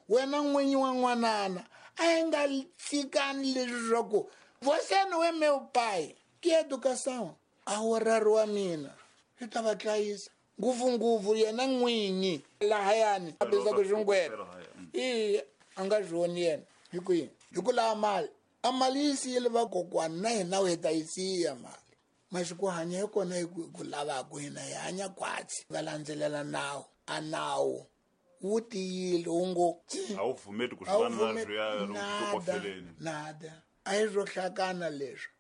Wena n'winyi wa n'wanana a hi nga tshikani leswi swa ku você não é meu pai. Que educação? A wu wa mina swi ta va dlayisa ngopfungopfu yena n'winyi lahayani a bizaku xingwena i a nga swi yena hi ku yini hi ku lava mali a mali yi siyile vakokwana na hina hi ta yi siya mali masiku hanya hi kona hi ku lavaku hina hi hanya khwatsi va landzelela nawu a nawu wu tiyile wu ngo a wu pfumeli ku swi va nada a hi swo hlakana leswi.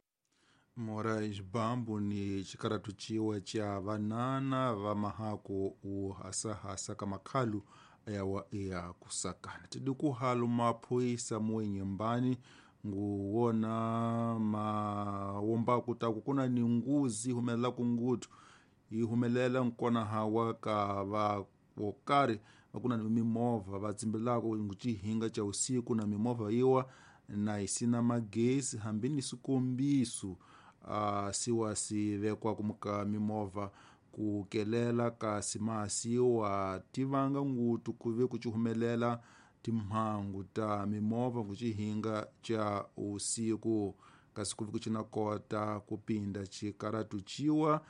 Moraes Bambo ni chikaratu chiwa cha vanana va mahako u hasahasa ka makhalu ayawa ya kusakana tidi kuhalu maphoyisa muwenyembani nguwona mawombaku taku kuna ni nguzi humelela kungutu yi humelela nkona hawa ka va wokari vakuna ni mimovha va tsimbelako nguchihinga cha usiku na mimovha yiwa na isina magesi hambi ni swikombiso siwa si vekwa kumuka mimovha kukelela kasi masiwa tivanga ngutu kuve kuchihumelela timhangu ta mimovha kuchihinga cha usiku kasi kuve kuchinakota kupinda chikaratu chiwa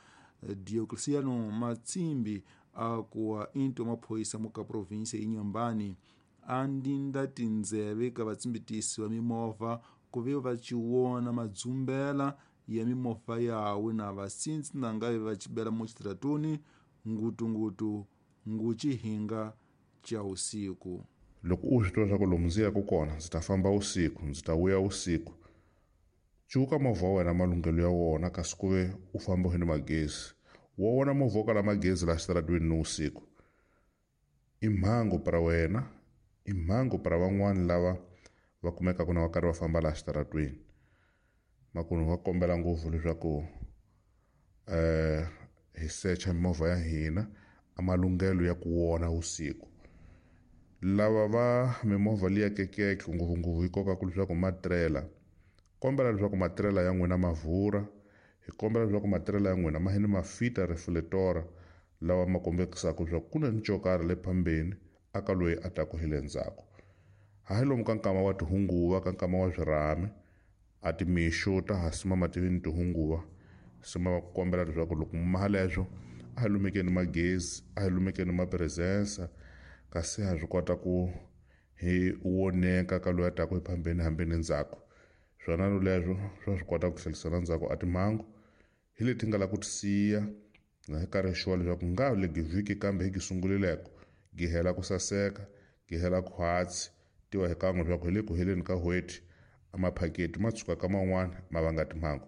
Diocleciano Matsimbi akuwa into maphoyisa muka provinsia Inhambane andinda tindzeve ka vatsimbitisi va mimovha kuve va chiwona madzumbela ya mimovha yawe na vasintsi na ngave va chibela muchitiratuni ngutungutu nguchihinga cha usiku. Loko u swi tiva leswaku lomu ndzi yaka kona ndzi ta famba usiku, ndzi ta vuya usiku, cuka movha wa wena malunghelo ya wona kasi ku ve u famba hi ni magezi. Wa wona movha wo kala magezi laha xitaratweni ni usiku i mhangu para wena, i mhangu para van'wani lava va kumekaka na va karhi va famba laha xitaratweni. Makunu va kombela ngopfu leswaku hi secha mimovha ya hina a malunghelo ya ku wona usiku. Lava va mimovha liya kekeke ngopfungopfu yi kokaka leswaku matirela, kombela leswaku matirela ya n'wina ma vhura, hi kombela leswaku matirela ya n'wina ma hini ma fita reflector lawa ma kombekisaka leswaku ku na ni xo karhi le phambeni aka loyi a taku hi le ndzhaku. Hayi lomu ka nkama wa tihunguva, ka nkama wa swirhami, a timixo ta ha simama ti ni tihunguva, sima va kombela leswaku loko maha leswo a hi lumekeni magezi, a hi lumekeni mapresensa, kasi ha swi kota ku hi woneka ka loyi a taku hi phambeni hambi ni ndzhaku. Swona leswo swa swi kota ku tlhelisela ndzhaku a timhangu hi leti nga la ku ti siya na hi karhi xuwa leswaku nga le vhiki kambe hi gi sungulileko gi hela ku saseka, gi hela khwatsi tiwa hi kan'we leswaku hi le ku heleni ka n'hweti a maphaketi ma tshuka ka man'wana ma vanga timhangu.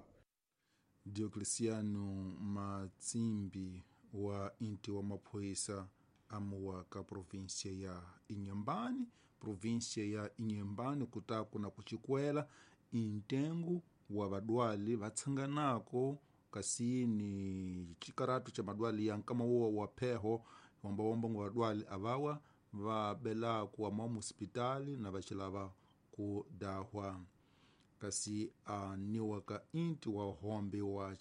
Diocleciano Matsimbi wa inti wa maphoyisa amuwa ka provinsia ya Inhambane, provinsia ya Inhambane kutaku na kuchikwela intengo wa vadwali vatsanganako kasi ni chikaratu cha madwali ya nkama wo wa pheho wambawomba ngo vadwali avawa va belaku wa hospitali na vachilava ku dahwa kasi aniwa ka inti wa hombe wa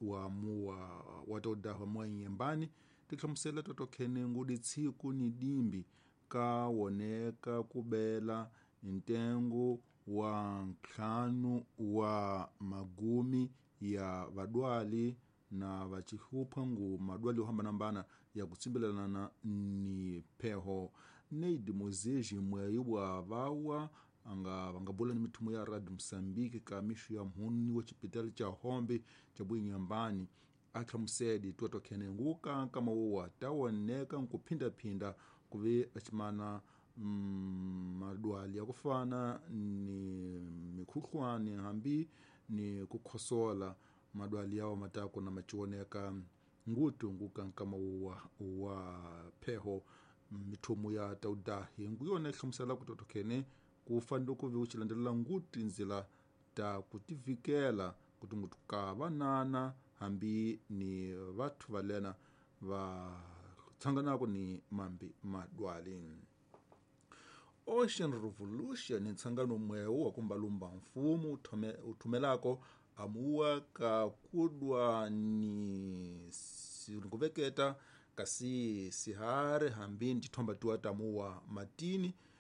wa muwa watodahwa mwa Inhambane tihlamusela totokhene ngudi tsiku ni dimbi ka woneka kubela ntengo wa ntlhanu wa magumi ya vadwali na vachihlupha ngu madwali yo hambanahambana ya kutsimbelana ni pheho. Neid Mozeji mweyi wa vawa anga vangabula ni mithumo ya Radio Mosambiki ka mixo ya mhuni wa xipitali cha Hombe cha Inhambane a hlamuseli tuatokhene nguka nkama wowa tawoneka nkuphindaphinda kuve achimana madwali ya kufana ni mikhuhlwani hambi ni kukhosola madwali yawo matako na machiwoneka ngutu nguka nkama wowa wa pheho. Mithumo ya taudahi nguyona ihlamusela kutotokhene kufanele kuve uchilandelela nguti nzila ta kutivikela kuti ngutu ka vanana hambi ni vathu valena va tsanganako ni mambi madwali. Ocean Revolution ntsangano mwewu wa kumbalumba mfumo uthumelako amuwa ka kudwa ni kuveketa kasi sihari hambi ni tithomba tiwa tamuwa matini